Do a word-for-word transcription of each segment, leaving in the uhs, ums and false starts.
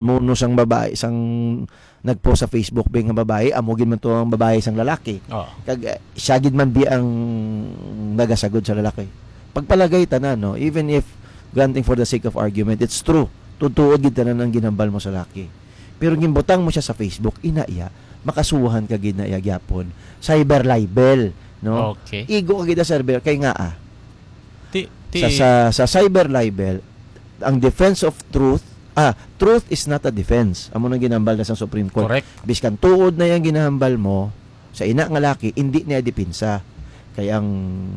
muno sang babae, sang nagpost sa Facebook bi nga babae, amo gid man to ang babae sang lalaki. Oo. Kag, eh, siya gid man bi ang nagasagod sa lalaki. Pagpalagay tanan, no? Even if granting for the sake of argument, it's true. Tutuod gid tanan ang ginhambal mo sa laki. Pero ginbutang mo siya sa Facebook, ina iya, makasuhan ka gid na iya gyapon. Cyber libel, no? Okay. Igo ka gid sa cyber, kay nga, ah, Ti, ti, sa, sa, sa cyber libel, ang defense of truth, ah, truth is not a defense. Amo nang ginambal na sa Supreme Court. Correct. Biskan tuod na yang ginahambal mo sa ina nga laki, hindi niya depensa. Kay ang,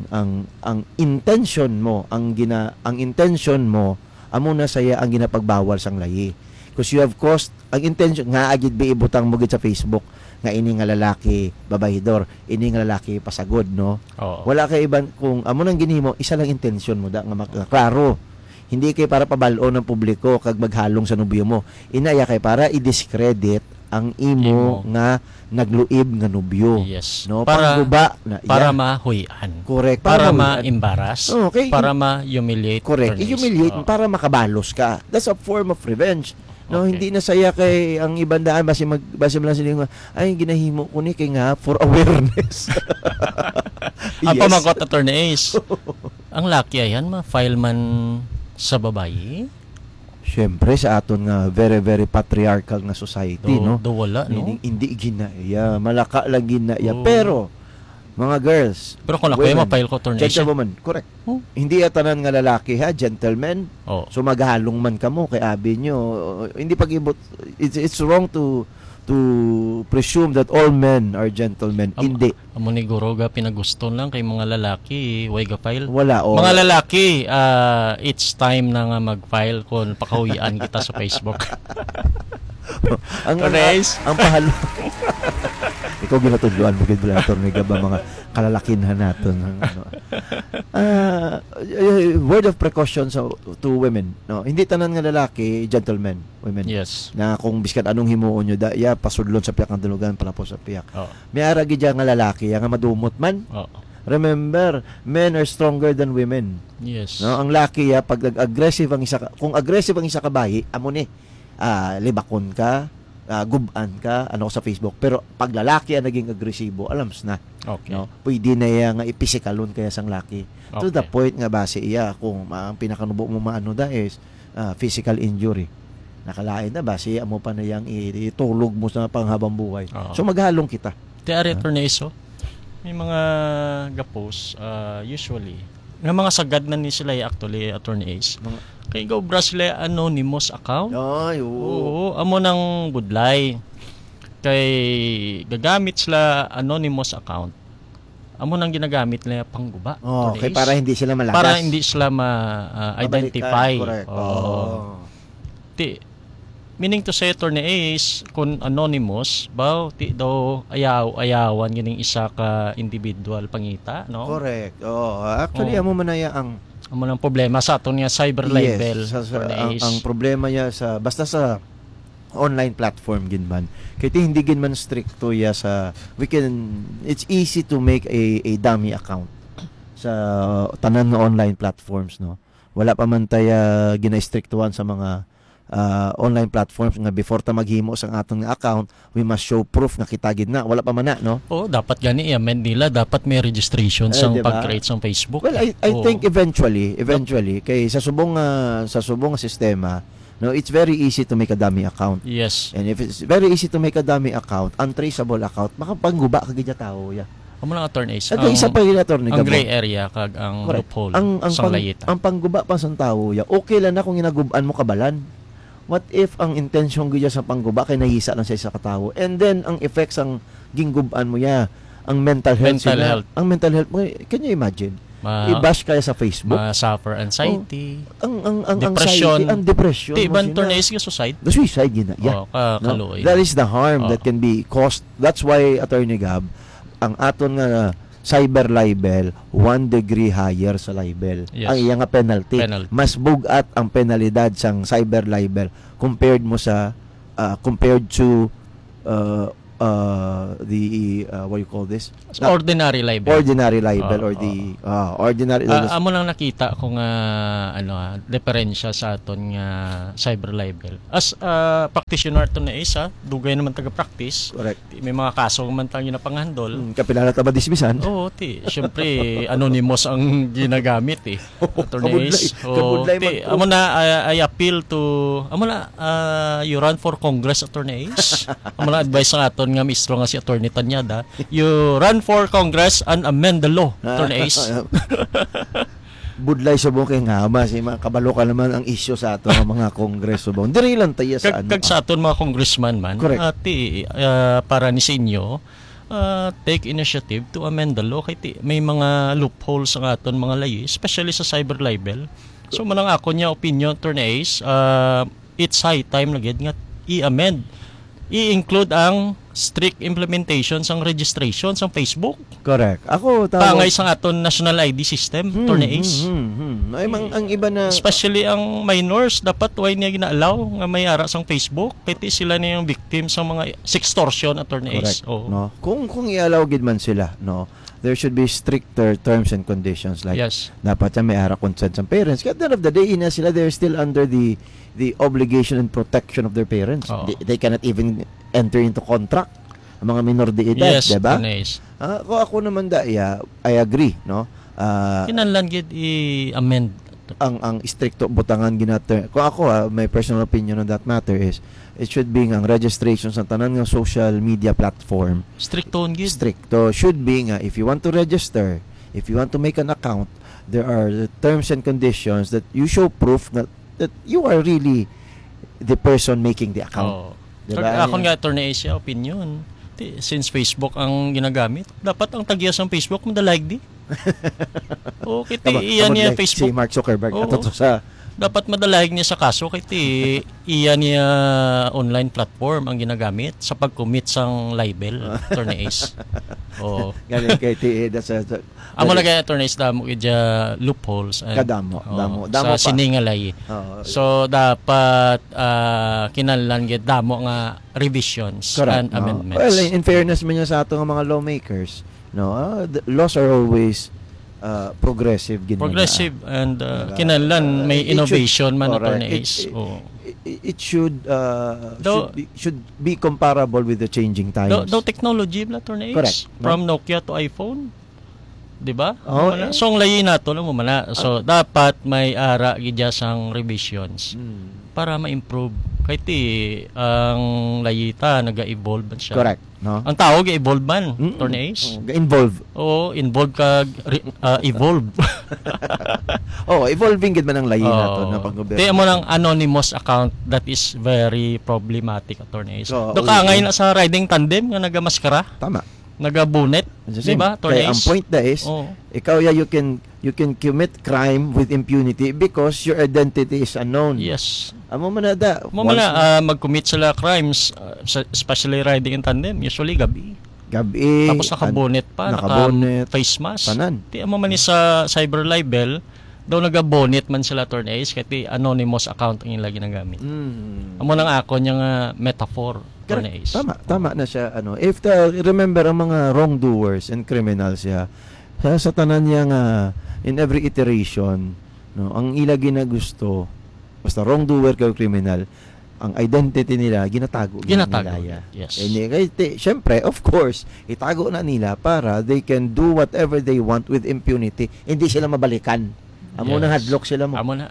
ang, ang intention mo, ang gina-, ang intention mo, amo na saya ang ginapagbawal sang layi. 'Cause you have caused, ang intention nga agid bi ibutang mo gid sa Facebook nga ini nga lalaki, babaydor, ini nga lalaki, pasagod, no? Oo. Wala kay iban, kung amo nang ginhimo, isa lang intention mo da nga mak-, klaro. Hindi kay para pabal-on ang publiko kag maghalong sa nobyo mo. Ina iya kay para i-discredit ang imo Imo. nga nagluib nga nobyo. Yes. No? Para, Pangguba na para iya. mahuy-an. Correct. Para Para mahuy-an. ma-embarrass. Okay. Para ma-humiliate. Correct. Attorneys. I-humiliate Oo. para makabalos ka. That's a form of revenge. No, Okay. hindi na saya kay ang iban daan, basi mag-, basi man lang sila nga, "Ay, ginahimo ko ni kay nga for awareness." Ang Yes. pamangkot, Attorney Ace, ang laki ayan, ma-file man sa babayi? Siyempre, sa aton nga very, very patriarchal nga society, Do, no? do wala, no? Hindi, hindi gina-, yeah, malaka lang gina-, yeah. Oo. Pero, mga girls, Pero kung ako, women, ma-file ko, Attorney Ace, eh. gentlewoman, correct. Oh. Hindi ya tanan nga lalaki, ha, gentleman. Oh. So, maghalong man kamo kay abi nyo. Hindi pag-ibot, it's, it's wrong to, to presume that all men are gentlemen. Am-, Hindi. amo ni guro ga pinaguston lang kay mga lalaki, way ga file. Wala, oh. Mga lalaki, ah, it's time na nga mag-file kung pakahuyan kita sa Facebook. Ang, ang, Correct. ang pahal-, Ikaw ginatudloan mo gid bala, Attorney Gab, ang mga kalalakinhan naton, ang ano. Ah, eh, word of precaution sa, to women, no? Hindi tanan nga lalaki, gentlemen, women. Yes. Na kung biskan anong himuon nyo, da, ya, pasudlon sa piyak ang dulugan, palapos sa piyak. Oh. May ara gid ya nga lalaki, ya nga madumot man. Oh. Remember, men are stronger than women. Yes. No, ang laki ya, pag nag-aggressive ang isa ka, kung aggressive ang isa ka bayi, amo ni, ah, libakon ka, ah, gub-an ka, ano, sa Facebook. Pero pag lalaki ang naging agresibo, alams na. Okay. No? Pwede na iya nga ipisikalon kaya sang laki. To the Okay. point nga basi iya, kung ma-, ang pinakanubo mo maano da is, ah, physical injury. Nakalain na basi, amo pa na yang i-, itulog mo sa panghabang buhay. Oo. So, maghalong kita. Ti ari, Ah. Attorney Ace, oh. May mga gapos, ah, usually, nga mga sagad na ni sila, eh, actually, Attorney Ace. Mga Kay gaobra sila anonymous account. Ay, oo. Oo, amo nang budlay. Kay gagamit sila anonymous account. Amo nang ginagamit nila pangguba, Oh, Attorney kay Ace. para hindi sila malagas. Para hindi sila ma-, ah, Mabalikan, identify. correct. Oo. Oo. Ti, meaning to say, Attorney Ace, kung anonymous, baw, ti daw ayaw, ayawan ganing isa ka individual pangita, no? Correct. Oo. Actually, Oo. amo man na ya ang Amo nang problema sa aton nga cyber Yes, libel, sa, sa, Attorney ang, Ace. ang problema niya sa, basta sa online platform, gid man. Kay ti hindi gid man stricto ya sa, we can, it's easy to make a, a dummy account sa tanan nga online platforms, no? Wala pa man ta ya ginaistriktuhan sa mga, ah, online platforms nga before ta maghimo sang aton nga account, we must show proof nga kita gid na. Wala pa man na, no? Oo, dapat gani i-amend nila. Dapat may registration Eh, sang di ba? pag-create sang Facebook. Well, I, I Oo. think eventually, eventually, kay sa subong nga, sa subong nga sistema, no, it's very easy to make a dummy account. Yes. And if it's very easy to make a dummy account, untraceable account, makapangguba ka gid ya tawo, ya. Amo lang, Attorney Ace, At ang, isa pa yun, Attorney ang Gabo. gray area kag ang Correct. loophole Ang, ang sang pang-, layita. ang pangguba pa sang tawo, ya, okay lang na kung ginagub-an mo kabalan. What if ang intensyon gid sa pangguba kay nahisa lang sa isa ka tawo? And then, ang effects ang ginggub-an mo, ya, ang mental health Mental sila. health. Ang mental health mo, can you imagine? Ma-, I-bash kaya sa Facebook? ma-suffer anxiety, Oh, ang, ang, ang depression. anxiety, ang depression Ti mo iban, sila. Attorney Ace, nga suicide. The suicide, gina-, yeah. Oh, ka-, No? kaluoy. That is the harm Oh. that can be caused. That's why, Attorney Gab, ang aton nga cyber libel, one degree higher sa libel. Yes. Ang iya nga penalty. Penalty. Mas bug-at ang penalidad sang cyber libel compared mo sa, ah, compared to, ah, uh, the, uh, what you call this? Sa ordinary libel. Ordinary libel Ah, or the, ah, ordinary Ah, amo lang nakita ko nga, ano, ah, diferensya sa aton nga cyber libel. As, ah, practitioner to na isa, dugay naman taga-practice. Correct. Di, may mga kaso man tayo na panghandol. Hmm, kapila na ta madismisan? Oo, ti, siyempre, anonymous ang ginagamit, eh. Attorney Kabudlay, Ace. Oo, kabudlay ti, man to. Amo na, I, I appeal to, amo na, ah, you run for Congress, Attorney Ace. Amo na advice sa aton nga mistro nga si Attorney Tanyada. You run for Congress and amend the law, Attorney Ace. Budlay subong kay nga, mas, eh, mga kabalo ka naman ang isyu sa ato nga mga Congress subong. Diri lang tayo sa Kag, ano, kag sa ah. aton mga congressman man, Correct. ah, ti, ah, para ni sa inyo, ah, take initiative to amend the law. Kay ti, may mga loopholes ang aton mga layi, especially sa cyber libel. So, manang ako niya opinion, Attorney Ace, ah, it's high time na gid nga i-amend. I-include ang strict implementation sang registration sang Facebook. Correct. Ako, tawag Pangay sang aton national I D system, Hmm, Attorney Ace. hmm, hmm, hmm. Ay, mang, ang iba na Especially ang minors, dapat way niya gina-allow nga may ara sang Facebook. Kay ti sila na yung victim sa mga sextortion, Attorney Ace. Correct. Oo. No? Kung, kung i-allow gid man sila, no, there should be stricter terms and conditions. Like, Yes. dapat siya may ara consent sa parents. Kaya at the end of the day, ina sila, they're still under the the obligation and protection of their parents. Oo. They, they cannot even enter into contract ang mga minor de edad, Yes, di ba? Attorney Ace. Ah, kung ako naman, da, yeah, I agree, no? Ah, Kinahanglan gid i-amend. ang, ang istrikto butangan ginater-, kung ako, ah, my personal opinion on that matter is, it should be nga ang registration sa tanan nga social media platform Stricto gid. stricto. Should be nga, if you want to register, if you want to make an account, there are terms and conditions that you show proof that, that you are really the person making the account. Oo. Di Kag ba? akon Yan. nga, Attorney Ace, opinion. Ti, since Facebook ang ginagamit, dapat ang tagya sang Facebook madalag di. Oo, kay ti Kaba-, iya niya kabudlay, Facebook. si Mark Zuckerberg, Oo. ato to sa Dapat madalag niya sa kaso kay ti iya niya online platform ang ginagamit sa pag-commit sang libel, Attorney Ace. Oo. Galing kay ti, that's a, Amo na kay, Attorney Ace, damo gid dya loopholes and, Kadamo, oo, damo, damo sa pa. sining nga layi. Oo. So, dapat, ah, kinahanglan gid damo nga revisions Correct, and no? amendments. Well, in, in fairness man niya sa ato nga mga lawmakers, no, ah, the laws are always, ah, progressive gid man niya. Progressive and, ah, Diba? kinahanglan Ah, may it, it should, innovation man, correct. Attorney It, Ace. it, Oo. it, it should, ah, Daw should be, should be comparable with the changing times. Daw, daw technology bala, Attorney Ace. Correct, no? From Nokia to iPhone. Di ba? Oo, Amo na. eh. So, ang layi nato, alam mo man na. So, Ah. dapat may ara gid dya sang revisions Mm. para ma-improve. Kay ti, ang layi ta, naga-evolve man siya. Correct, no? Ang tao, ga-evolve man, Mm-mm. Attorney Ace. Oo, ga-involve. Oo, involve ka, re-, ah, evolve. Oo, evolving gid man ang layi Oo. nato na paggobyerno. Ti, amo nang anonymous account that is very problematic, Attorney Ace. Oo, Do oo, kaangay oo. na sa riding tandem nga nagamaskara? Tama. Nagabonet, It's the di same. ba, Attorney Kaya ang Ace? point na is, Oo. ikaw, yeah, you can, you can commit crime with impunity because your identity is unknown. Yes. Amo man na da. Amo man Once na, na ah, mag-commit sila crimes, ah, sa, especially riding in tandem, usually gabi. Gabi, Tapos an-, nakabonet pa, naka-face mask. Tanan. Ti, amo man ni sa cyber libel, daw nagabonet man sila, Attorney Ace, kay ti anonymous account ang ila ginagamit. Mm. Amo nang ako niya nga metaphor, Correct. Attorney Ace. Tama, tama na siya, ano. If the, remember, ang mga wrongdoers and criminals siya, sa, sa tanan niya nga, in every iteration, no, ang ila ginagusto, basta wrongdoer kay criminal, ang identity nila, ginatago gid Ginatago, nila, yeah. yes. And, eh, kay, ti-, syempre, of course, itago na nila para they can do whatever they want with impunity. Hindi sila mabalikan. Amo na Yes. hadlok sila mo. Amo na.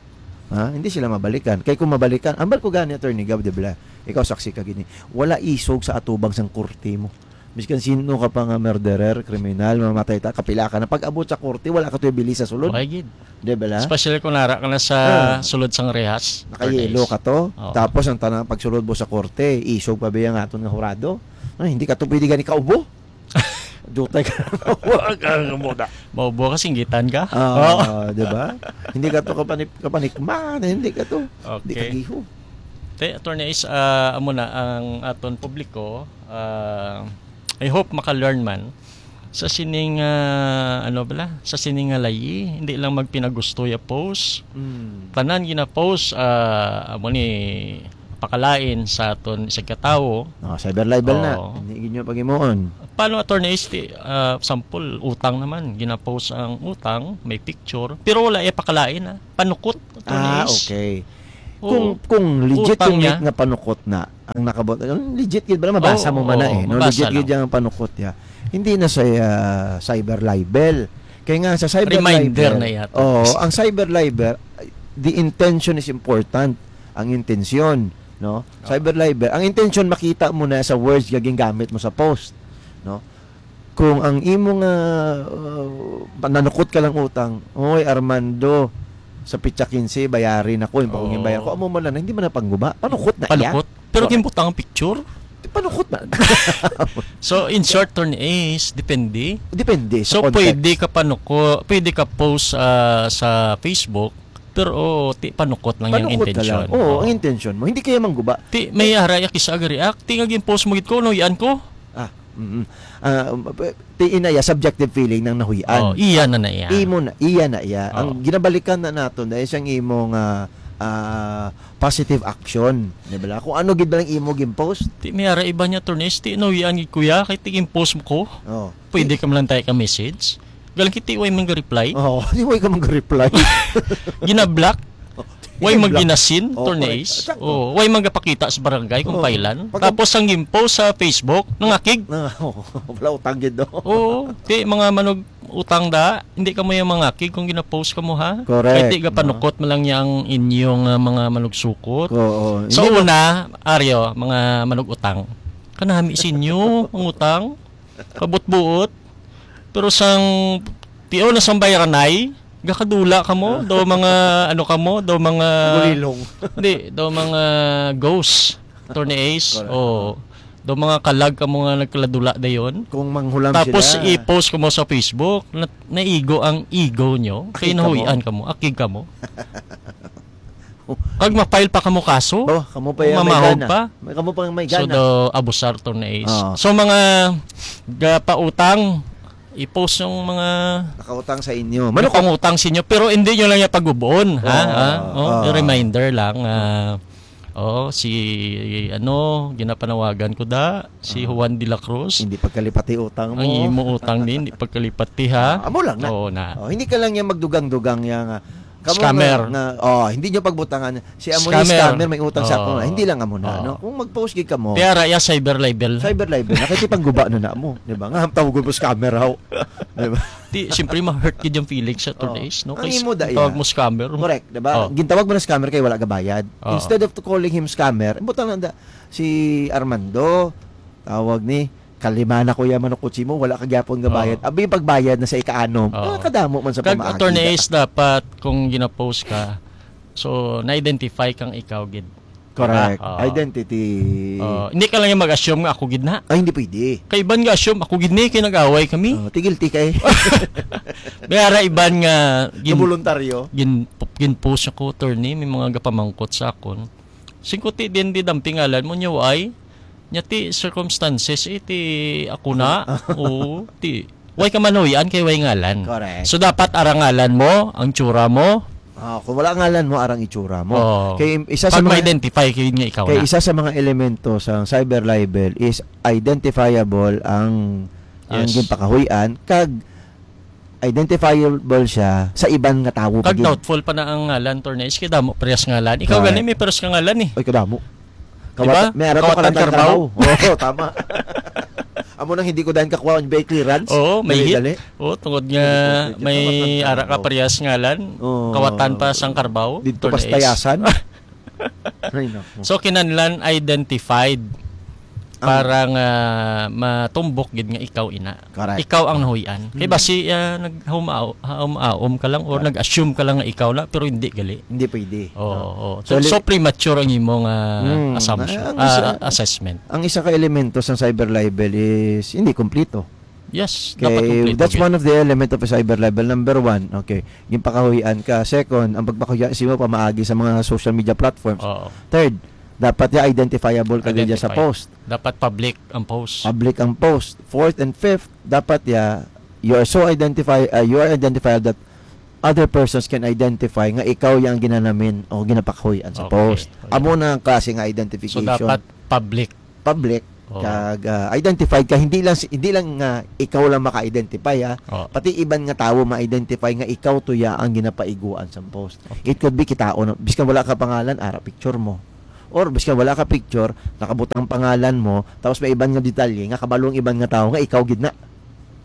Ha? Hindi sila mabalikan. Kay kung mabalikan, ambal ko gani, Attorney Gab, di ba? Ikaw saksi ka gini. Wala isog sa atubang sang korte mo. Miskan sino ka pa nga murderer, kriminal, mamatay ta, kapila ka na. Pag abot sa korte, wala ka to ibili sa sulod. Okay, gid. Di ba la? Especially kung nara ka na sa Ah. sulod sang rehas. Nakayelo Attorney Ace. ka to. Oo. Tapos ang tanang pagsulod mo sa korte, isog pa ba yung aton nga hurado? Ah, hindi ka to pwede gani kaubo. Dutay ka na. Wala ka nga muna. Maubo ka, singgitan ka. Ah, Oo. di ba? Hindi ka to kapanik-, kapanikman, hindi ka to. Hindi ka Okay. giho. Te, Attorney Ace, ah, amo na ang aton publiko. Ah, I hope maka-learn man sa sining, ah, ano bala, sa sining nga layi, hindi lang magpinagusto ya post. Mm. Tanan gina-post, ah, amo ni pakalain sa aton isang katawo. Oh, cyber libel na. Oo. Hindi gid nyo pag-imuon. Paano, Attorney Ace, ti, ah, sample, utang naman. Ginapost ang utang, may picture, pero wala iya pakalain, ah. Panukot, Attorney Ah, Ace. okay. Oo. Kung, kung legit Utang yung niya. nga panukot na, ang nakabot, legit gid ba na? Mabasa Oo, mo man na oo, eh. No? mabasa Legit gid lang. yung panukot niya. Hindi na sa ah, cyber libel. Kaya nga sa cyber Reminder libel, na yata. Oo, ang cyber libel, the intention is important. Ang intensyon, no? Cyber libel, ang intention makita mo na sa words nga gingamit mo sa post, no? Kung ang imo nga uh, nanukot ka lang utang, "Oy, Armando, sa pitsa quince, bayarin ako, yung pakungin Oh. bayaran ko." Amo man na, hindi man na pangguba. Panukot na iya. Panukot. Pero Correct. gimbutang ang picture. Panukot na. So, in short, Attorney Ace, depende. Depende sa So, context. pwede ka panuko, pwede ka post ah, sa Facebook, pero oh, ti, panukot lang yung Panukot na intention. lang. Oo, Oh. ang intention mo. Hindi kaya mangguba. Ti, may ara ya kisa aga react. Ti nga gin-post mo gid ko, no, yan ko. Ah, mm. Ah, um, p- ti ina ya subjective feeling ng nahuy-an. Oh, iya na na iya. Imo na, iya na iya. Ang Oh. ginabalikan na nato na isang imo nga ah, positive action, di ba? Kung ano gid ba lang imo gin-post. Ti may ara iba niya, Attorney Ace, ti nahuy-an gid ko ya, kay ti gin-post mo ko. Oh. Pwede ka man lang tayo ka message. Galang kiti, way man ga-reply. Oh, di way ka man ga-reply. Ginablock. Way Ginablock. maginasin, Oh, Attorney correct. Ace. Sakto. Oh, way magapakita sa barangay kung Oh. pailan. Pag- Tapos ang gin-post sa Facebook, nangakig. Na, oh, wala utang gid, no? Oo, ti mga manog utang da, hindi kamo yung mangakig kung gina-post kamo, ha? Correct, Kay ti no? gapanukot man lang niya ang inyong ah, mga manugsukot. Oo. Sa Hindi mo una, Aryo, mga manug-utang, kanami sa inyo ang utang, kabutbuot. Pero sang tiyo na sang bayranay, gakadula kamo, daw mga ano kamo, daw mga Gulilong. Hindi, daw mga ghost, Attorney Ace. Correct. Oo. Daw mga kalag kamo nga nagkaladula dayon. Kung manghulam Tapos sila. i-post ko mo sa Facebook, na, naigo ang ego nyo. Kay Akig kamo. nahuy-an kamo, akig kamo. Kag ma-file pa kamo kaso. Oh, kamo pa Kung yung may mamahog gana. pa. May kamo pa yung may So, gana. daw abusar to na is. Oo. So, mga gapautang, i-post yung mga Nakautang sa inyo. Manukot. Nakangutang sa inyo, pero hindi nyo lang yung pag-ubon, ha? Oo, Ha? Oh, oo. Reminder lang. Ah, oh, si, ano, ginapanawagan ko da, si Ah. Juan de la Cruz. Hindi pagkalipati utang mo. Ang imo utang din, hindi pagkalipati, ha? Ah, amo lang na. Oo na. Oh, hindi ka lang yung magdugang-dugang yung, ah, kamo Scammer. nga, nga, oh, hindi nyo pagbutangan. Si amo ni Scammer. scammer, may utang sa ako Oo. nga. Hindi lang amo na, Oo. no? Kung mag-post gid ka mo, Kaya ra, ya, cyber libel. cyber libel, nakikipagguba na na mo. Di ba? Nga, tawagon mo scammer, how? Di ba? Ti, siyempre, ma-hurt gid yung feelings sa Oo. Attorney Ace, no? Ang Kay imo da, tawag ya. mo scammer. Correct, di ba? Oh. Gintawag mo na scammer kay wala ka bayad. Oo. Instead of to calling him scammer, butang lang da, si Armando, tawag ni, kalima na ko ya manukot mo, wala ka gyapon nga Oo. bayad. Abi, pagbayad na sa ikaanom, Oo. ah, kadamo man sa Kag pamaagi Attorney da. Ace, dapat kung gina-post ka, so, na-identify kang ikaw gid. Correct. Diba? Oo. Identity. Oo. Hindi ka lang yung mag-assume nga ako gid na. Ay, hindi pwede. Kay iban nga assume, ako gid ni, kay nag-away kami. Oh, ti guilty ka eh. May ara iban nga gin-, Voluntaryo. gin-, gin-post ako, Attorney, may mga gapamangkot sa akon. Singkuti din di damping ngalan mo, niya, why? Nya ti circumstances, eh, ti ako na. Oo, ti, way ka manuyan kay way ngalan. Correct. So, dapat ara ngalan mo, ang tsura mo. Ah, kung wala ngalan mo, arang itsura mo. Oo. Kay isa sa Pag mga ma-identify kayo nga ikaw kay na. isa sa mga elemento sa cyber libel is identifiable ang, ang Yes. ginpakahuy-an, kag identifiable siya sa iban nga tawo pa Kag gid. doubtful pa na ang ngalan, Attorney Ace, kay damo parehas ngalan. Ikaw Correct. gani, may parehas ka ngalan eh. Ay, kadamo. Di ba? Kawat-, may ara ko Kawatan Kawatan Carbao. Carbao. Oo, tama. Amo nang hindi ko dahil kakuha ang bay clearance. Oo, may Dali, hit. dali. Oo, tungod nga Hindi ko, hindi ko may kawatan ara ka Carbao. parehas ngalan. Oo. Kawatan pa sang Carbao, Dito Attorney Ace. pastayasan. Ay, naku. So, kinahanglan identified Ang para nga matumbok gid nga ikaw ina. Correct. Ikaw ang nahuy-an. Kay Hmm. basi, ah, naghaum-ao-, haum-aom ka lang or Ah. nag-assume ka lang nga ikaw na, pero hindi gali. Hindi pwede. Oo, Ah. oo. So, So, li- so premature ang imong, ah, Hmm. assumption, Ah, ang ah, isa, assessment. ang isa ka elemento sa cyber libel is hindi kompleto. Yes, Okay, dapat kompleto that's yun. one of the element of a cyber libel. Number one, okay, ginpakahuy-an ka. Second, ang pagpakahuy-an sa imo pamaagi sa mga social media platforms. Oo. Third, dapat ya identifiable ka gid sa Identified. post. Dapat public ang post. Public ang post. Fourth and fifth, dapat ya, you are so identify, uh, you are identified that other persons can identify nga ikaw yang ginanamin o ginapakahuy-an sa Okay. post. Amo na ang klase nga So, identification. dapat public. Public, Oo. kag, ah, identified ka, hindi lang si, hindi lang nga ikaw lang maka-identify, ha. Oo. Pati iban nga tawo ma-identify nga ikaw to ya ang ginapaiguan sa post. Okay. It could be kitaon, biskan wala ka pangalan, ara picture mo. Or biskan wala ka picture, nakabutang pangalan mo, tapos may iban nga detalye nga kabalo ang iban nga tawo nga ikaw gid na.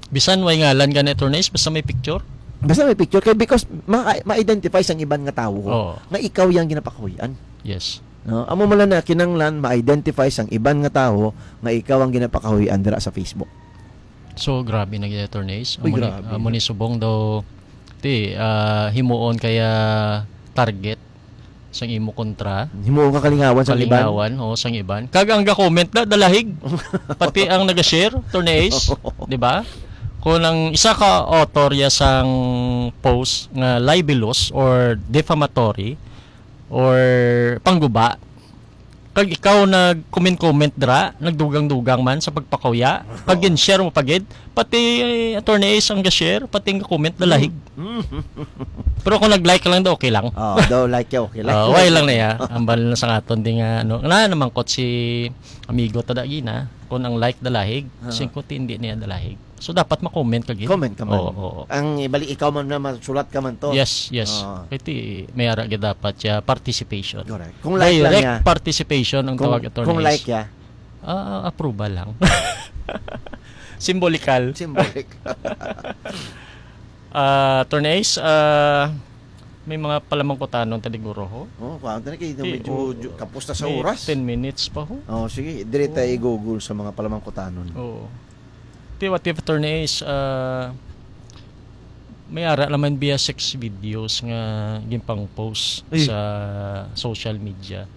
Bisan way ngalan gani, Attorney Ace, basta may picture? Basta may picture, kay because ma-, ma-identify sang iban nga tawo Oo. nga ikaw yang ginapakahuy-an. Yes. No? Amo man lang na kinanglan ma-identify sang iban nga tawo nga ikaw ang ginapakahuy-an dira sa Facebook. So, grabe na gyud, Attorney Ace. Uy, Amo ni, grabe amo na. ni subong daw, ti, ah, himuon kaya target sang imo kontra. Himuon ka kalingawan sa iban. Kalingawan, o, sang iban. Kag ang ga-comment na, dalahig. Pati ang naga-share, Attorney Ace, di ba? Kung ang isa ka author ya sang post nga libelous or defamatory or pangguba, kag ikaw nag-comment-comment dira, nagdugang-dugang man sa pagpakauya, kag gin-share mo pa gid, pati, eh, Attorney Ace ang ga-share, pati ang comment, dalahig. Mm. Pero kung nag-like ka lang daw, okay lang. Oh, daw like ka, okay lang. Oh, okay lang na ya. Ang bal na sa aton di nga, ano, na namangkot si amigo ta da gina, kung ang like dalahig, Ah. singko ti hindi niya dalahig. So, dapat ma-comment ka gid. Comment ka man. Oo, oo. Ang ibali, ikaw man na masulat ka man to. Yes, yes. Oo. Kaya ti, may ara gid dapat siya participation. Correct. Kung like lang Direct niya. participation ang Kung, tawag, Attorney kung Ace. like ya. Ah, approval lang. Symbolical. Symbolic. Ah, Attorney Ace, ah, may mga palamangkutanon ta diguro ho. Oh, kuwan, tani kay Ti, medyo oh, ju-, kapos ta sa may oras. ten minutes pa ho. Oh, sige, dire ta Oh. i-google sa mga palamangkutanon. Oo. Ti, what if, Attorney Ace, ah, may ara naman biya sex videos nga ginpang-post Ay. sa social media.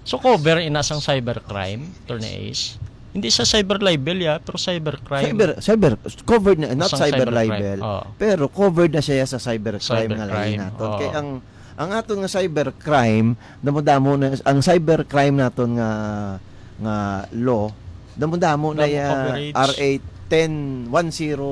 So, cover ina sang cybercrime, Attorney Ace. Hindi sa cyber libel, ya, pero cybercrime. Cyber, cyber, covered na, not Sang cyber cybercrime, libel, oo. pero covered na siya sa cybercrime nga Cybercrime, lain naton. oo. Kay ang, ang aton nga cybercrime, damo-damo na, ang cybercrime naton nga, nga law, damo-damo na Damo ya, coverage. R A ten, one zero,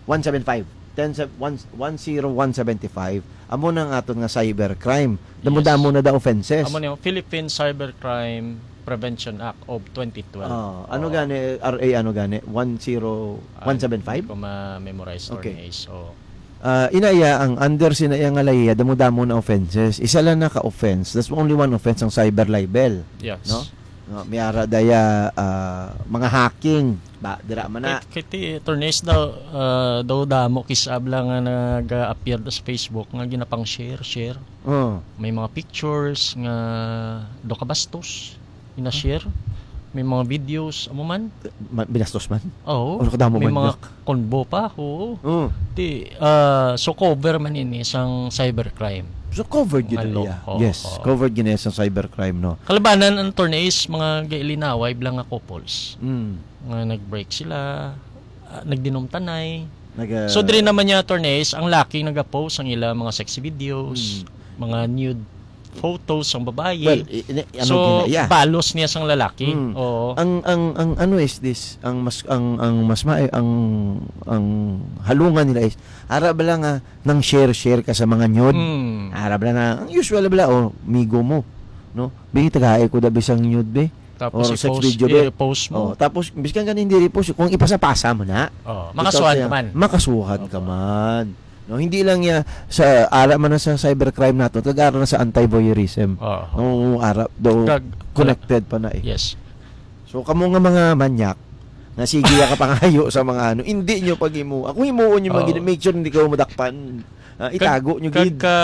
one seven five. Ten se-, one, one zero one seven five. Amo na ang aton nga cybercrime. Damo-damo Yes. na da offenses. Amo ni Philippine Cybercrime Prevention Act of twenty twelve. Oh, ano Oh. gani, R A ano gani? One zero one seven five? Ah, hindi ko ma-memorize, Okay. Attorney Ace. Oh. Ah, inaya ang under sina iya nga layiha, damo-damo na offenses. Isa lang na ka offense. That's only one offense ang cyber libel. Yes. No? No, may ara daya, ah, mga hacking ba dira man na. Kay, kay ti, Attorney Ace daw, ah, daw damo kisab lang nga nag-appear sa Facebook nga ginapang share, share. Oh. May mga pictures nga do kabastos ina-share. May mga videos, amo man. Ma-, binastos man? Oo. Ano kadamo May man mga niya? Convo pa, oo. Oh. Ti, ah, so cover man ini sang cybercrime. So covered gid Nga law, iya. oo, Yes, oo. covered gid iya sang cybercrime, no? Kalabanan ang Attorney Ace, mga gailinaway lang nga couples. Mm. Nga nag-break sila, ah, nagdinumtanay. Nag-, So, ah, diri naman niya, Attorney Ace, ang laki nag-post ang ila mga sexy videos, Mm. mga nude photos sang babayi. Well, i-, ini-, ano So, gina-, yeah. balos niya sang lalaki. Mm. Oo. Ang, ang, ang ano is this? Ang mas, ang, ang mas ma-, ang, ang halungan nila is, ara bala nga nang share-share ka sa mga nude? Mm. Ara bala na, ang usual bala, oh, migo mo, no? Bi, tagaay ko da bisang nude, be. Tapos Or sex i-post, video, be. i-repost mo. Oh, tapos, biskan ka hindi repost, kung ipasa-pasa mo na. Oh, Ikaw makasuhan siya, ka man. makasuhan ka Opo. man. No, hindi lang niya sa, ara man na sa cybercrime nato, kag ara na sa anti-voyeurism. Oo. Oo, ara, do, Kag, connected pa na eh. Yes. So, kamo nga mga manyak, nga sige ya kapangayo sa mga ano, hindi nyo pag-imo. Ako himuon nyo man Oo. gid, make sure hindi kayo madakpan. Ah, Kag, itago nyo kag gid. ka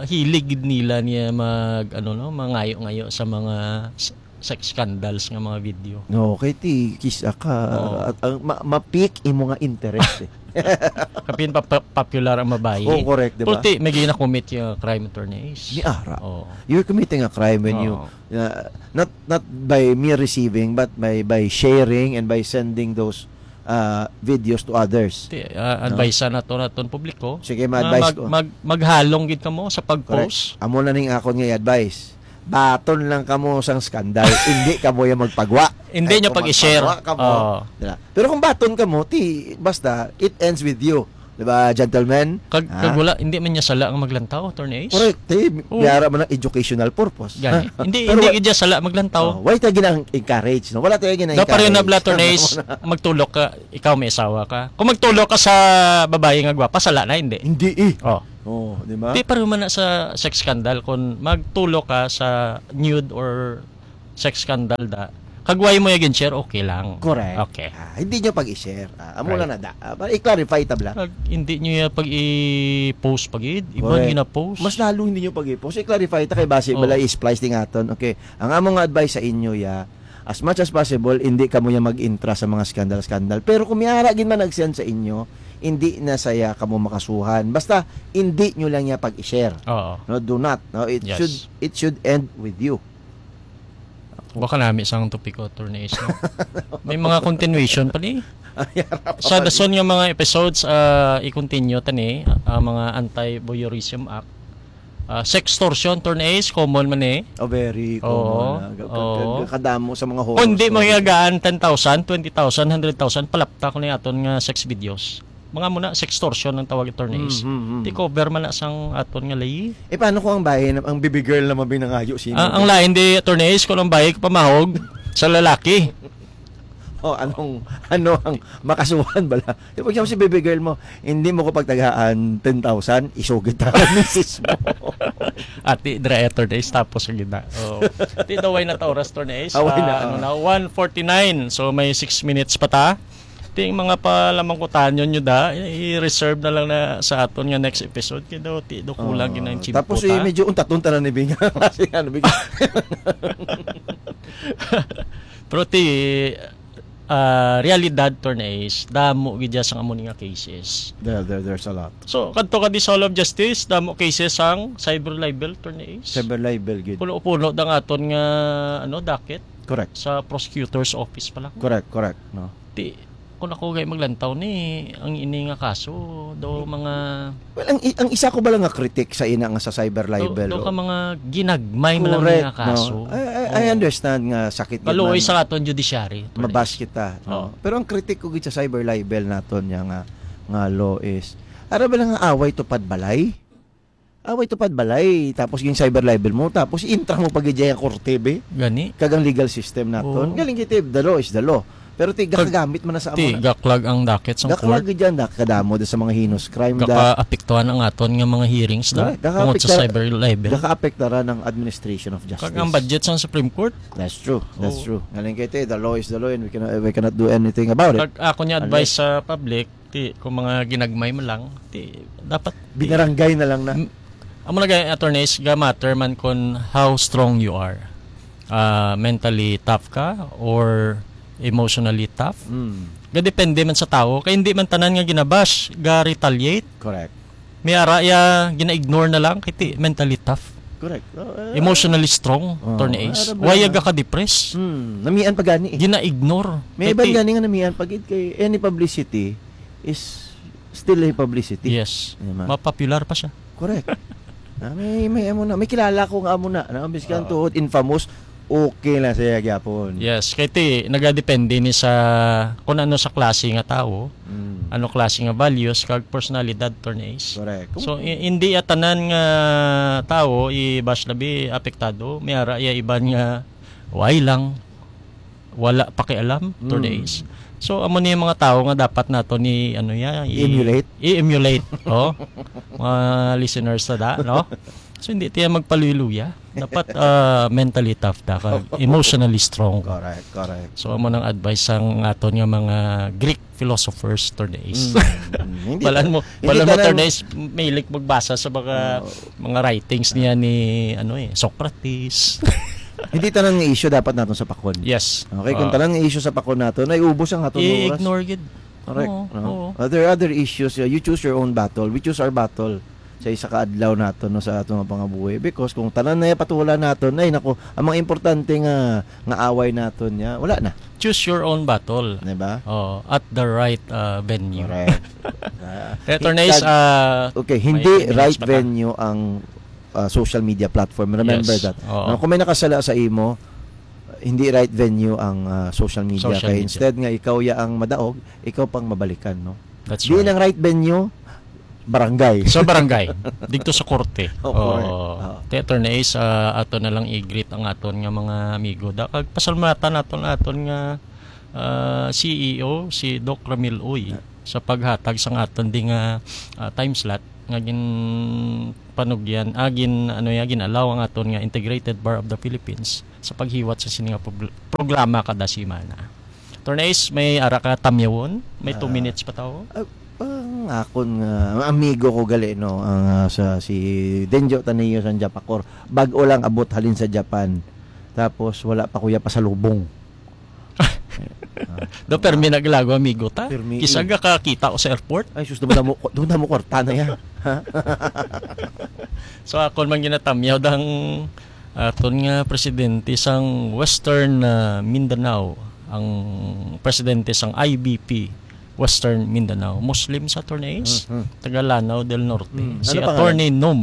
hilig gid nila niya mag, ano, no, mangayo-ngayo sa mga s-, sex scandals nga mga video. No, kay ti, kisa ka, Oo. at, ang ma-, ma-pick imo nga interest eh. Kapin pa, pa-, popular ang babayi. Oh, correct, di ba? Pero ti, may gina-commit yung crime, Attorney Ace. Ni ara. Oo. You're committing a crime when you, Oo. uh, not, not by mere receiving, but by, by sharing and by sending those, uh, videos to others. Ti, ah, No? advice na to naton publiko. Sige, Nga ma-advise mag-, ko. mag-, maghalong gid kamo sa Correct. pag-post. Amo na ning akon nga i-advise. Baton lang kamo sang skandal, hindi kamo yung magpagwa. Hindi Ay, nyo kung pag-i-share. magpagwa kamo, Oo. dila. Pero kung baton kamo, ti, basta, it ends with you. Di ba, gentlemen? Kag, Ha? kag wala, hindi man niya sala ang maglantaw, Attorney Ace. Correct. Eh, Oo. biyara man ang educational purpose. Gani. Hindi, Pero hindi wa- gid siya sala maglantaw. Oh, why tayo gina-encourage, no? Wala tayo gina-encourage. Dapat rin na bla, Attorney Ace, Tama na. Magtulok ka, ikaw may asawa ka. Kung magtulok ka sa babae nga gwapa, sala na, hindi. Hindi eh. Oh. Oh, di ba? Di pareho man na sa sex scandal. Kung magtulok ka sa nude or sex scandal da, kag wala mo yung share, okay lang. Correct. Okay. Ah, hindi nyo pag-i-share. Ah, amo Right. lang na da. Ah, para i-clarify tabla. Kag hindi nyo yung pag-i-post pag-id. Iban Correct. Gina-post. Mas lalo hindi nyo pag-i-post. I-clarify ta kay base Oo. bala i-splice din aton. Okay. Ang among nga advice sa inyo, ya, as much as possible, hindi kamo ya mag-intra sa mga scandal-scandal. Pero kung may ara gid man nag-send sa inyo, hindi na saya kamo makasuhan. Basta, hindi nyo lang ya pag-i-share. Oo. No, do not. No, it Yes. should it should end with you. Baka nami sang topic ko, Attorney Ace, no? May mga continuation pa ni. Ay, harap Sa pa dason nga mga episodes, ah, i-continue ta ni ang mga Anti-Voyeurism Act. Ah, sextortion, Attorney Ace, common man eh. Oh, very Oo. common. Ah. Ga- ga- Oo. ga- Kadamo sa mga horror Kung di mo stories. Hiyagaan ten thousand, twenty thousand, hundred thousand, palapta ko na aton nga sex videos. Mga muna, sextortion ang tawag, Attorney Ace. Mm, mm, mm. Di cover man na sang aton nga lay. Eh, paano kung ang bahay, na- ang baby girl naman binangayo sino? Ah, ang lain di, Attorney Ace, kung ang bahay pamahog sa lalaki. Oh, anong, ano ang makasuhan bala? Di pag si baby girl mo, hindi mo ko pagtagaan ten thousand, isugid ta ang misis mo. Ati, dra, Attorney Ace, tapos ang gina. Oh. Ti, daway na ta oras, Attorney Ace. Away na, Ah, ano oh. na, one forty-nine. So, may six minutes pa ta. Ti, ang mga palamangkutanyon nyo da, i-reserve na lang na sa aton nga next episode. Kaya daw, ti, do kulang Oh, yun ang chimpo tapos ta. Eh, medyo untatun ta na ni Bing. Kasi ano, Bing? Pero ti, ah, realidad, Attorney Ace, damo gid dya sang amo ni nga cases. There, there, there's a lot. So, kadto ka di sa Hall of Justice, damo cases sang cyber libel, Attorney Ace. Cyber libel, gid. Puno-puno dang aton nga, ano, docket Correct. sa prosecutor's office pa lang. Correct, correct. No? Ti, kung ako gay maglantaw ni, ang ini nga kaso, do mga, Well, ang, i- ang isa ko bala nga critic sa ina nga sa cyber do, libel, do oh. ka mga ginagmay man lang Correct, nga kaso. No? I, I, I Oo. understand nga sakit gid Kaluoy man. Sa aton judiciary. Mabas kita, no? Oh. Pero ang critic ko gid sa cyber libel naton niya nga nga law is, ara ba lang nga away tupad balay? Away tupad balay, tapos yung cyber libel mo, tapos intra mo pag ang korte, be? Gani. Kag ang legal system naton. Oo. Galing kita, the law is the law. Pero ti, Kag- gakagamit man na sa Ti, amo na. Gaklag ang docket sa Gaklag court. Gid yan, da, kadamo da sa mga heinous crime da. Gakaapektuhan ang aton nga mga hearings da. Correct. Tungod sa Gakaapektar- cyber libel. Gakaapektaran ang administration of justice. Kag ang budget sa Supreme Court. That's true. That's Oo. true. Galing kay ti, the law is the law and we cannot, we cannot do anything about it. Kag ako niya advice Unless- sa public, ti, kung mga ginagmay man lang, ti, dapat ti, Binaranggay na lang na. M- Amo na gay, attorneys, ga matter man kon how strong you are. Ah, mentally tough ka or emotionally tough. Mm. Ga depende man sa tawo. Kay hindi man tanan nga ginabash ga retaliate. Correct. May ara ya gina-ignore na lang kay ti mentally tough. Correct. Oh, uh, Emotionally strong, Oh, attorneys. ara ba Why yan? Ga ka-depress? Hmm, namian pa gani eh. Gina-ignore. May Kay iban ti- gani nga namian pa gid kay any publicity is still a publicity. Yes. Di ba? Mapopular pa siya. Correct. Ah, may may amo na, may kilala ko nga amo na, na biskan Oo. tuod infamous, okay na siya gyapon. Yes, kay ti nagadepende ni sa kung ano sa klase nga tawo, Mm. ano klase nga values kag personalidad, attorneys. Correct. So i- hindi ya tanan nga tawo i-bash labi apektado, may ara ya iban nga way lang wala pakialam, Mm. attorneys. So amo ni mga tawo nga dapat nato ni ano ya i- Emulate. I-emulate, oh. Mga listeners na da, no? So hindi tiya magpaluya-luya. Dapat ah, mentally tough da ka, emotionally strong ka. Correct, correct. So amo nang advice sang aton nga mga Greek philosophers, attorneys. Mm, mm. Hindi Balan ta- mo, hindi balan mo, tanan- attorneys, mahilig magbasa sa mga Oo. mga writings niya ni ano eh, Socrates. Hindi tanan nga issue dapat naton sa pakon. Yes. Okay, kung Ah. tanan nga issue sa pakon naton, ay ubos ang aton oras. I-ignore gid. Correct. Oo, No? oo. Uh, there are other issues. Uh, you choose your own battle. We choose our battle sa isa ka adlaw naton, no, sa aton nga pangabuhi. Because kung tanan na patula naton, ay nako, ang mga importante nga nga away naton niya, wala na. Choose your own battle. Di ba? Oh, at the right uh, venue. Correct. Ah, Kaya, attorneys, tag- ah, Okay, may hindi minutes right pa ta. Venue ang uh, social media platform. Remember Yes. that. Oo. No, kung may nakasala sa imo, hindi right venue ang uh, social media. Social Kaya media. Instead nga ikaw ya ang madaog, ikaw pang mabalikan, no? That's Di right. ang right venue, barangay. Sa barangay, dito sa korte. Oh, correct. Oo. Oo. Te, Attorney Ace, ah, ato na lang i-greet ang aton nga mga amigo. Da, kag pasalamatan naton, aton nga, ah, C E O, si Doc Ramil Uy, sa paghatag sang aton di nga, ah, time slot nga gin panugyan, ah, gin, ano ya, gin-allow ang aton nga Integrated Bar of the Philippines sa paghiwat sa sini nga prob-, programa kada semana. Attorney Ace, may ara ka tamyawon? May two Ah, minutes pa tawo? Ah, ang akon nga amigo ko gali, no, ang, ah, sa, si Denjo Taneo sang Japacor. Bag-o lang abot halin sa Japan. Tapos wala pa kuya pasalubong. Ah, Do, permi naglago, amigo ta. Permi, Kisa eh. Ga kakita ko sa airport. Ay, sus, dumdamo ko, dumdamo kwarta na yan. Ha? So, akon man ginatamyaw dang aton nga presidente sang Western, ah, Mindanao, ang presidente sang I B P Western Mindanao, Muslim sa, Attorney Ace, Mhm. taga Lanao del Norte, Mm. si Ano pangalan? Attorney Num.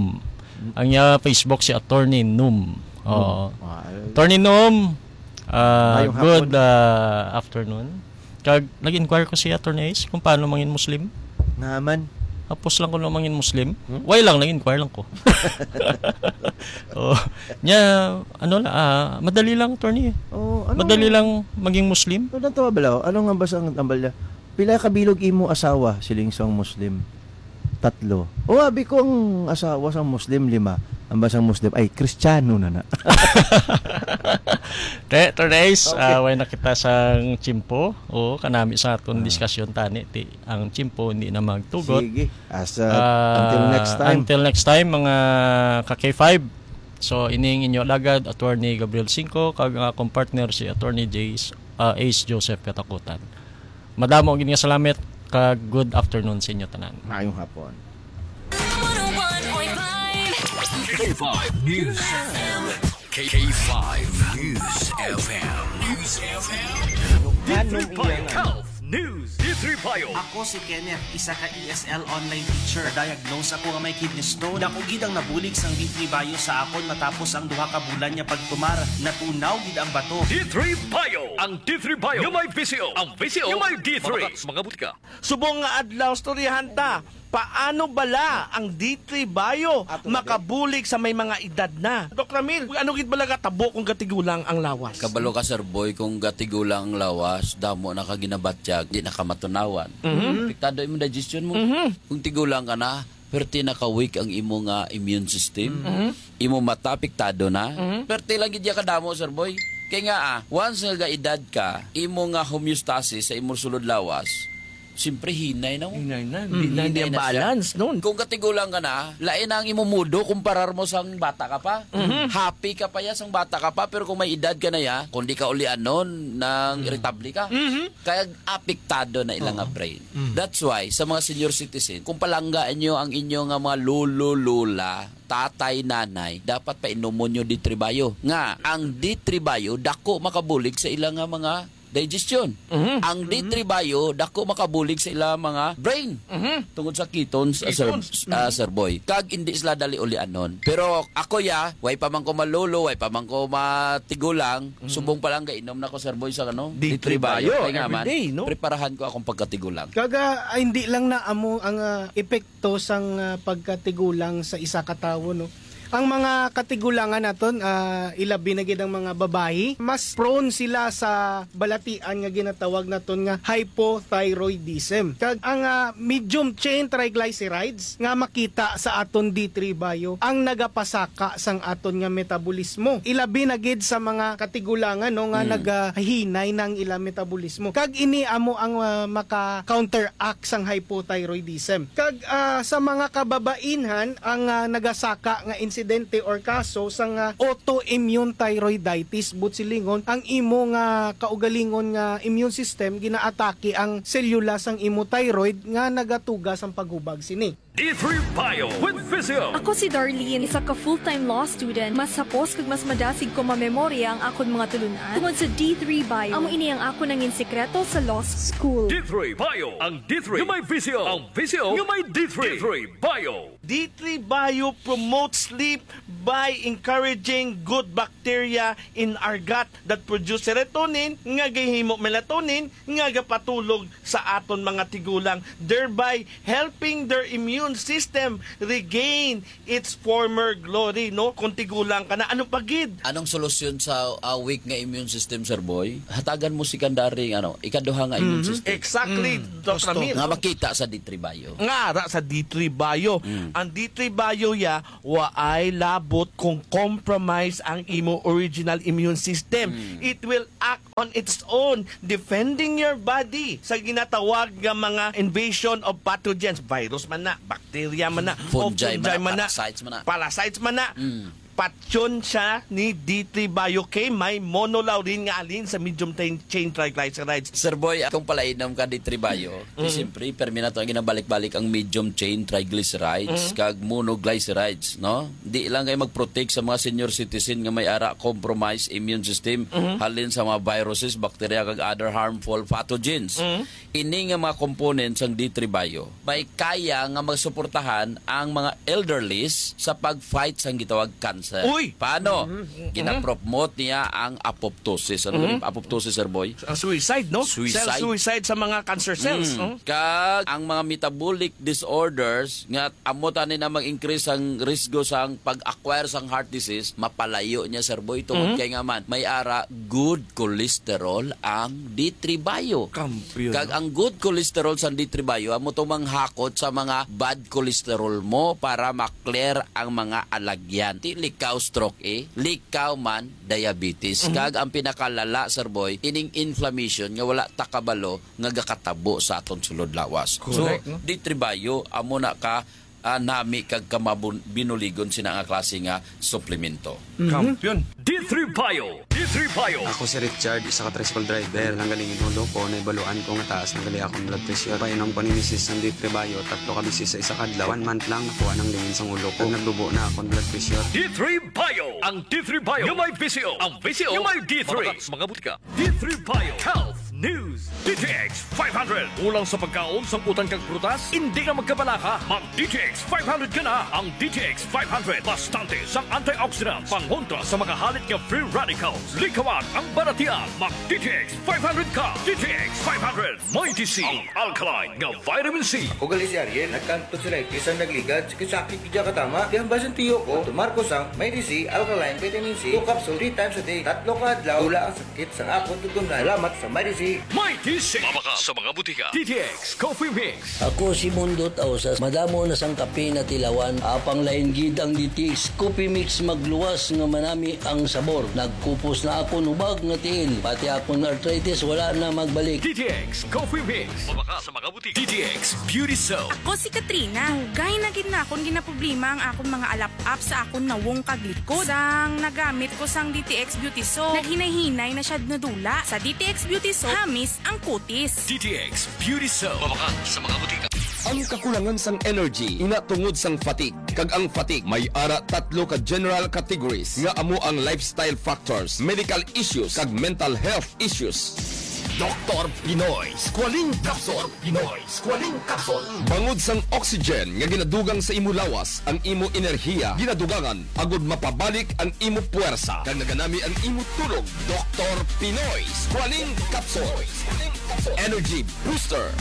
Ang iya Facebook si Attorney Num. Oo. Ah, eh. Attorney Num, ah, Mayong good, hapon. ah, afternoon. Kag nag-inquire ko si Attorney Ace kung paano mangin Muslim. Naman. Tapos lang ko na mangin Muslim. Hmm? Why lang, nag-inquire lang ko. Oh, nya, ano la, ah, madali lang, Attorney. Oh, ano Madali nga? lang maging Muslim. Ano ang tawag bala? Ano nga ba sa ang tambal niya? Pila ka bilog imo asawa, siling sang Muslim? Tatlo. O, abi ko ang asawa sang Muslim, lima. Ang ba sang Muslim? Ay, Kristiyano na na. Te, Attorney Ace, Okay. ah, way na kita sang tiyempo. Oo, kanami sa aton Ah. diskusyon tani, ti, ang tiyempo hindi na magtugot. Sige. As, uh, Ah, until next time. until next time, mga ka K five. So, ining inyo alagad, Attorney Gabriel Cinco, kag ang akong partner, si Attorney Jace, ah, Ace Joseph Katakutan. Madamo gid nga salamat, kag good afternoon sa inyo tanan. Maayong hapon. One oh one point five. K five News. K five News F M. News F M. Ano D three Bio iyan? Health News. D three Bio. Ako si Kenneth, isa ka E S L online teacher. Diagnose ako nga may kidney stone. Dako gid ang nabulig sang D three Bio sa akon matapos ang duha ka bulan nga pagtumar. Natunaw gid ang bato. D three Bio. Ang D three Bio nga may V C O. Ang V C O nga may D three. Mga butika. Subong nga adlaw, storyahan ta, paano bala ang D three Bio Ato na, makabulig sa may mga edad na? Doc Ramil, ano gid bala gatabo kung gatigulang ang lawas? Kabalo ka, Sir Boy, kung gatigulang ang lawas, damo na ka ginabatyag, di na ka matunawan. Mhm. Apektado imong digestion mo. Mhm. Kung tigulang ka na, perti na ka-weak ang imo nga immune system. Mhm. Imo mata apektado na. Mhm. Perti lang gid ya kadamo, Sir Boy. Kay nga, ah, once nga gaedad ka, imo nga homeostasis sa imo sulod lawas, siyempre hinay na mo. Hinay na. Mm, Di na hinay niya na siya. balance, no? Kung katigulang ka na, lain na ang imo mudo kumparar mo sang bata ka pa. Mhm. Happy ka pa ya sang bata ka pa, pero kung may edad ka na ya, kung di ka ulianon, nang Mm. irritable ka. Mhm. Kaya apektado na ila nga Oo. brain. Mm. That's why, sa mga senior citizen, kung palangga inyo ang inyo nga mga lolo, lola, tatay, nanay, dapat painomon nyo D three Bio. Nga, ang D three Bio, dako makabulig sa ila nga mga digestion. Mhm. Ang Mhm. D three Bio, dako makabulig sa ila mga brain. Mhm. Tungod sa ketones, ah, Sir, Ketones. ah, Mhm. Sir Boy. Kag hindi sila dali ulianon. Pero ako ya, way pa man ko malolo, way pa man ko matigulang, Mhm. subong pa lang gainom na ko, Sir Boy, sa ano? D three D three Bio. Bio. Kaya nga man, Everyday, no? preparahan ko akong pagkatigulang. Kaga, ah, hindi lang na amo ang, ah, epekto sang, ah, pagkatigulang sa isa ka tawo, no? Ang mga katigulangan naton, ah, ilabi na gid ang mga babayi, mas prone sila sa balatian nga ginatawag naton nga hypothyroidism. Kag ang, ah, medium chain triglycerides nga makita sa aton D three Bio ang nagapasaka sang aton nga metabolismo. Ilabi na gid sa mga katigulangan, no, nga Mm. nagahinay nang ila metabolismo. Kag ini amo ang, ah, maka-counteract sang hypothyroidism. Kag, ah, sa mga kababainhan, ang, ah, nagasaka nga insidente or kaso sang, ah, autoimmune thyroiditis, buot silingon, ang imo nga kaugalingon nga immune system ginaatake ang selula sang imo thyroid nga nagatuga sang paghubag sini. D three Bio with Physio. Ako si Darlene, isa ka full-time law student. Mas hapos kag mas madasig ko mamemorya ang akon mga tulunan tungod sa D three Bio. Amo ini ang akon nangin sikreto sa law school. D three Bio. Ang D three nga may Physio. Ang Physio nga may D three. D three Bio. D three Bio promotes sleep by encouraging good bacteria in our gut that produce serotonin nga gahimo melatonin nga gapatulog sa aton mga tigulang, thereby helping their immune immune system regain its former glory, no? Kung tigulang ka na, ano pa gid? Anong solusyon sa, ah, weak nga immune system, Sir Boy? Hatagan mo secondary, ano, ikaduha nga immune Mhm. system. Exactly, Mm. Doc Gusto. Ramil. Nga makita sa D three Bio. Nga ara sa D three Bio. Mm. Ang D three Bio ya, waay labot kung compromise ang imo original immune system. Mm. It will act on its own, defending your body sa ginatawag nga mga invasion of pathogens. Virus man na, bacteria man na, o Fungi man fungi na, man na, parasites man na. Parasites man na. Mm. Patyon siya ni D three Bio kay may monolaurin nga halin sa medium chain, chain triglycerides. Sir Boy, kung palainom ka D three Bio, di Mm. siyempre, permi na to ang ginabalik-balik ang medium chain triglycerides Mm. kag monoglycerides, no? Di lang kay mag-protect sa mga senior citizen nga may ara compromised immune system, Mm. halin sa mga viruses, bacteria, kag other harmful pathogens. Mm. Ini nga mga components sang D three Bio may kaya nga magsuportahan ang mga elderlies sa pag-fight sang gitawag cancer. Uy! Paano? Mhm. Ginapromote niya ang apoptosis. Ano Mhm. ba yung apoptosis, Sir Boy? Ang suicide, no? Suicide. Cell suicide sa mga cancer cells, Mm. no? Kag ang mga metabolic disorders nga amo tani na mag-increase ang risgo sang pag-acquire sang heart disease, mapalayo niya, Sir Boy, tungod Mhm. kay nga man may ara good cholesterol ang D three Bio. Kampiyon. Kag ang good cholesterol sang D three Bio amo to manghakot sa mga bad cholesterol mo para ma-clear ang mga alagyan. Di likaw stroke, eh. Likaw man diabetes. Mhm. Kag ang pinakalala, Sir Boy, ining inflammation nga wala ta kabalo nga gakatabo sa aton sulod lawas. So, Correct, no? D three Bio, amo na ka, ah, nami kag kamabun-, binuligon sina nga klase nga suplemento. Mhm. Kampiyon. D three Bio. D three Bio. Ako si Richard, isa ka tricycle driver. Nanggaling in ulo ko, naibaluan ko nga taas na gali akong blood pressure. Painom ko ni misis sang D three Bio, tatlo ka beses sa isa ka adlaw. One month lang, nakuha nang lingin sang ulo ko. Nagdubo na akong blood pressure. D three Bio. Ang D three Bio nga may V C O. Ang V C O nga may D three. Mabakal sa mga butika. D three Bio Health News. D T X five hundred. Kulang sa pagkaon, sangkutan kag prutas? Hindi ka magkabalaka. Mag D T X five hundred ka na. Ang D T X five hundred, bastante sang antioxidants, pangontra sa mga halit nga free radicals. Likawan ang balatian. Mag D T X five hundred ka. D T X five hundred. Mighty C, ang alkaline nga vitamin C. Ako gali si Ariel, nagkantod sa life, isang nagligad, sakit-sakit gid katama. Kaya ang basin tiyo ko, tumar ko sang Mighty C, alkaline vitamin C, two capsule, three times a day. Tatlo ka adlaw, wala ang sakit sang akon tutunan. Salamat sa Mighty C. Mighty C. Mabakal sa mga butika. D T X Coffee Mix. Ako si Mundot Ausas. Madamo na sang kape natilawan. Apang lain gid ang D T X Coffee Mix, magluwas nga manami ang sabor. Nagkupos na akon hubag nga tiil. Pati akon arthritis wala na magbalik. D T X Coffee Mix. Mabakal sa mga butika. D T X Beauty Soap. Ako si Katrina. Hugay na gid na akon ginaproblema ang akon mga alap-ap sa akon nawong kag likod. Sang nagamit ko sang D T X Beauty Soap, naghinay-hinay na siya nadula. Sa D T X Beauty Soap, hamis ang kutis. D T X Beauty Soap. Mabakal sa mga butika. Ang kakulangan sang energy ina tungod sang fatigue. Kag ang fatigue may ara tatlo ka general categories nga amo ang lifestyle factors, medical issues, kag mental health issues. Doktor Pinoy Squalene Capsule. Pinoy Squalene Capsule. Bangod sang oxygen nga ginadugang sa imo lawas, ang imo enerhiya ginadugangan agud mapabalik ang imo puwersa kag naganami ang imo tulog. Doktor Pinoy Squalene Capsule. Energy Booster.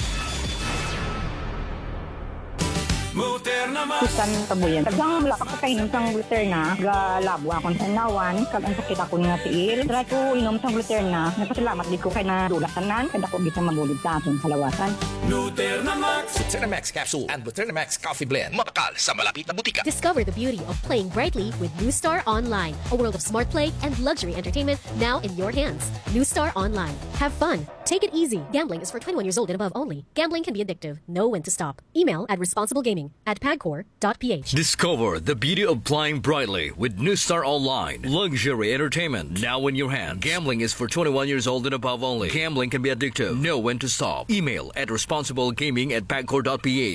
Gluterna Max. Susan Tabuyan. Tagang wala pa ko kainom sang Gluterna, galabo akong tanawan, kag ang sakit akon nga tiil. Try ko inom sang Gluterna. Nagpasalamat gid ko kay nadula tanan, kay dako gid sa mabulig sa akon kalawasan. Gluterna Max. Gluterna Max Capsule and Gluterna Max Coffee Blend. Mabakal sa malapit na butika. Discover the beauty of playing brightly with New Star Online, a world of smart play and luxury entertainment now in your hands. New Star Online. Have fun. Take it easy. Gambling is for twenty-one years old and above only. Gambling can be addictive. Know when to stop. Email at responsiblegaming at pagcor dot p h. Discover the beauty of playing brightly with New Star Online. Luxury entertainment now in your hands. Gambling is for twenty-one years old and above only. Gambling can be addictive. Know when to stop. Email at responsiblegaming at pagcor dot p h.